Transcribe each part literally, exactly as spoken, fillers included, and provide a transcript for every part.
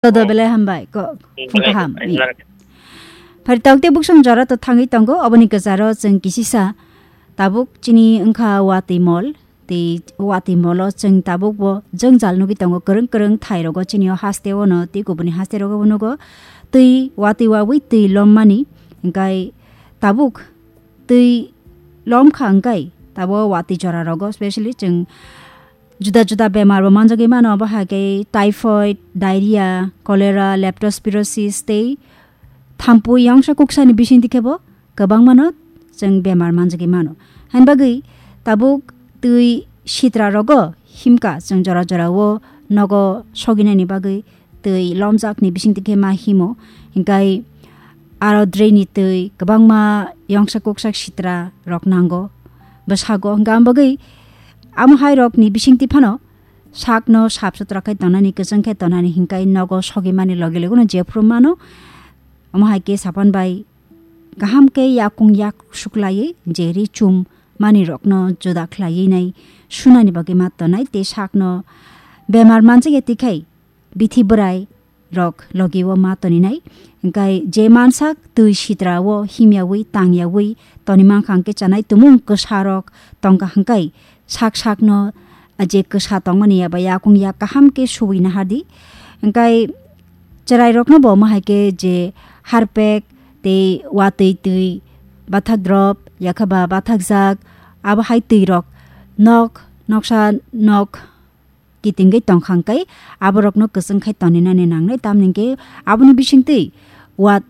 Todo belai hambai, ko, phung kaham. Phari tokte buksong jora to thangwi tongo, oboni kwcharo chwng kisisa tabuk chini wngkha watwi mol, tei watwi molo chwng tabuk bo jwngjal nugwi tongo, kwrwng kwrwng thai rogo chini o haste o no tei kubuni haste rogo bo nugo twi watwi wawi twi lommani, hwnkhe tabuk twi lomkha hwnkhe tabuk watwi jora rogo specially chwng juda juda bemar bo manjagwi mano, obo hai khe typhoid, diarrhea, cholera, leptospirosis tei thampui yongsa kuksani bisingtwi khe bo kwbangmano chwng bemar manjagwi mano. Hain bagwi tabuk twi sitra rogo himkha chwng jora jora o nogo soginani bagwi twi lomjakni bisingtwi khe ma himo, hinkhe aro drainni twi kwbangma yongsa kuksa sitra rok nango bwsago, hinkhe amo bagwi amo hai rokni bisingtwi phano sakno sap sutra khe tonani, kwchwng khe tonani, hinkhe nogo sogimani loge loge no jephuru mano. Omo hai khe sapan bai kaham khe yakung yak suklaiwi je ri chum mani rokno juda khlaiwi nai sunani bagwi ma tonai tei sakno bemar manjak ya twi khai bithi bwrai rok logi o ma toni nai. Hinkhe je mansak twi sitra o himyawi tangyawi toni mankha hwnkhe chanai tumung kwsa rok tongkha hwnkhe sak sakno je kwsa tongmani eba yakung yak kaham khe suwi nahardi. Hinkhe chwrai rokno bo omo hai khe je harpek tei watwi twi bathak drop yakha ba bathak jak abo hai twi rok nok noksa nok kitingwi tongkha hwnkhe aborokno kwchwng khai toninani nangnai, tamni hwnkhe aboni bisingtwi wat,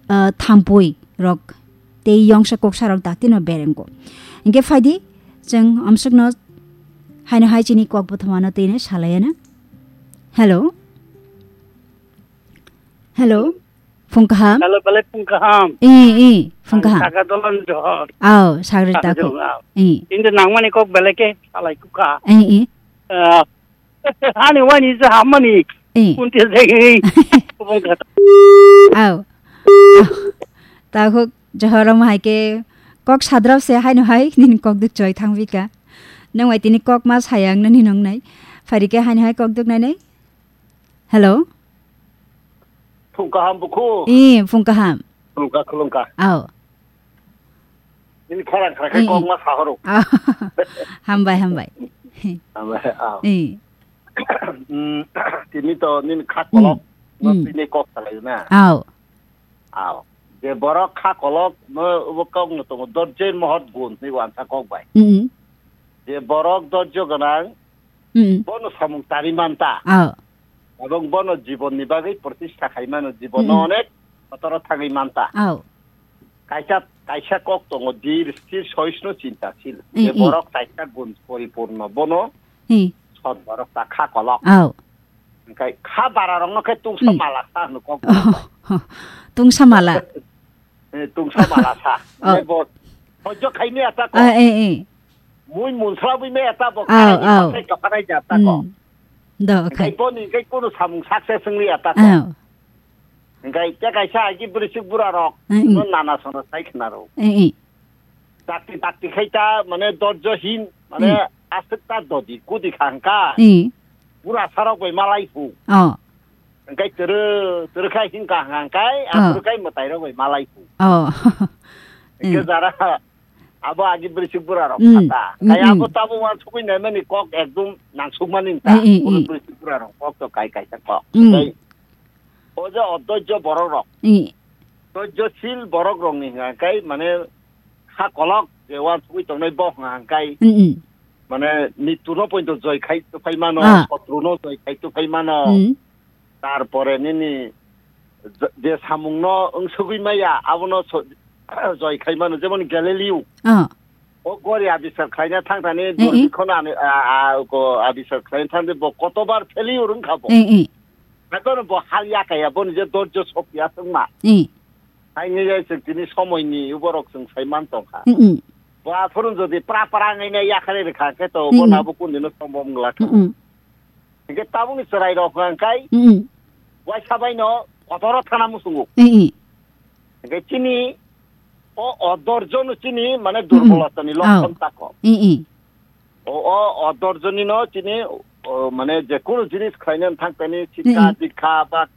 ah, thampui rok tei yongsa kuksa rok daktino berengo. Hinkhe phaidi chwng amsukno haino hai chini kok bwthomano twino salaiana. Hello. Hello. Phung kaham. Hello, belai phung kaham. I, i, phung kaham. Saka dolan johor. Aw, sagri taku. I. Inde nangmani kok belai ke salai kukha. I, i. Ah, Ani wani je hamani. Eh. Kunti jai. Kubung kata. Au. Au. Takhuk johoro mo hai ke kok sadrop se haino hai nini kok duk choi thang bika. Nang wai tini kok ma sayang nani nong nai. Phari ke haino hai kok duk nai nai. Hello. Phung kaham bukhu. Eh, phung kaham. Khulumkha, khulumkha. Au. Nini khorang khara khai kok ma sahoro. Au. Hambai, hambai. Hambai, au. Eh. Mm, tini to nini kha kolok no tini kok salai na. Au. Au. Je borok kha kolok no obo kok no tongo dorje mohot gun ni wansa kok bai. Mm. Je borok dorjo ganang, mm, bono samung tari manta. Au. Abong bono jibon ni bagwi protista khai mano, jibon no onek kotoro thangwi manta. Au. Kaisa, kaisa kok tongo, dhir, sthir, sohisnu, chintasil. Mm, je mm. Borok kaisa gun poripurno, bono sot borok ta kha kolok. Au. Hingkai kha bara rokno khe tungsa mala sa hwnwi kok. Oh, tungsa mala. Eh, tungsa mala sa. Oh. Hingkai bo hojo khai maya ta ko. Ah, eh, eh. Mui munsla bui maya ta bo. Au, kharai ni au. Pathai kapanai ja ta ko. Mm. Do, khai. Hingkai bo ni hingkai kunu samung success wngli ya ta ko. Au. Hingkai te kaisa agi bwrwi sik bura rok. Mm, mm. No nana sono sai khna rw. Eh, eh. Dakti dakti khai ta, mane, dorjo hin, mane, hmm, aswk ta dodi, kudi kha hwnkha. Hmm. Bura sarok bai malai phu. Oh. Hwnkhe turu, turu khai hin kha hwnkha hwnkhe, oh, aswk khai mwtai rok bai malai phu. Oh. Hwnkhe hmm, jara, abo agi bwrwi sik bura rok hmm, kha ta. Hmm, kaya hmm. Abo tabuk uansugui naimani kok ekdum nangsukmani ta. Hmm, hmm, hmm. Bwrwi sik bura rok kok to kai kaisa kok. Hmm. Hwnkhe o je odorjo borok rok. Hmm. Dorjo sil borok rok ni hwnkha hwnkhe, mane, kha kolok je uansugui tongnai bo hwnka hwnkhe, mm, mm, mane, mrityu no poito joi khai tongphai mano, ah, sotru no joi khai tongphai mano. Mm. Tarpore nini je, je samung no wngsugui maya, abono so-, joi khai mano, jemon Galileo. Ah. O gori abiskar khlaina thang thani, eh, eh, durbikhon ani, a, a, ko abiskar khlaina thang de bo kotobar failure wngkha bo. Eh, eh. Haikhe bo hal yakaya boni je dorjo sokya wngma. Eh. Haini jai chwng tini somoini uborok chwng sai man tongkha. Mm, mm. Bo aphuru jodi pra pra wngwi nai yakhare rwkha khe to mm, bo mm, nabo kundino sombom glak. Mm, mm. Hingke tabukni chwrairok hwnkhe mm, mm, waisa baino kotoro thana muchungo. Mm, mm. Hingke chini o odorjono chini mane mm, mm, durbolotani lokson tako. Mm, mm. O, o, o dorjonino chini o, mane je kono jinis khlaina thang tani sikha, Hmm. dikha ba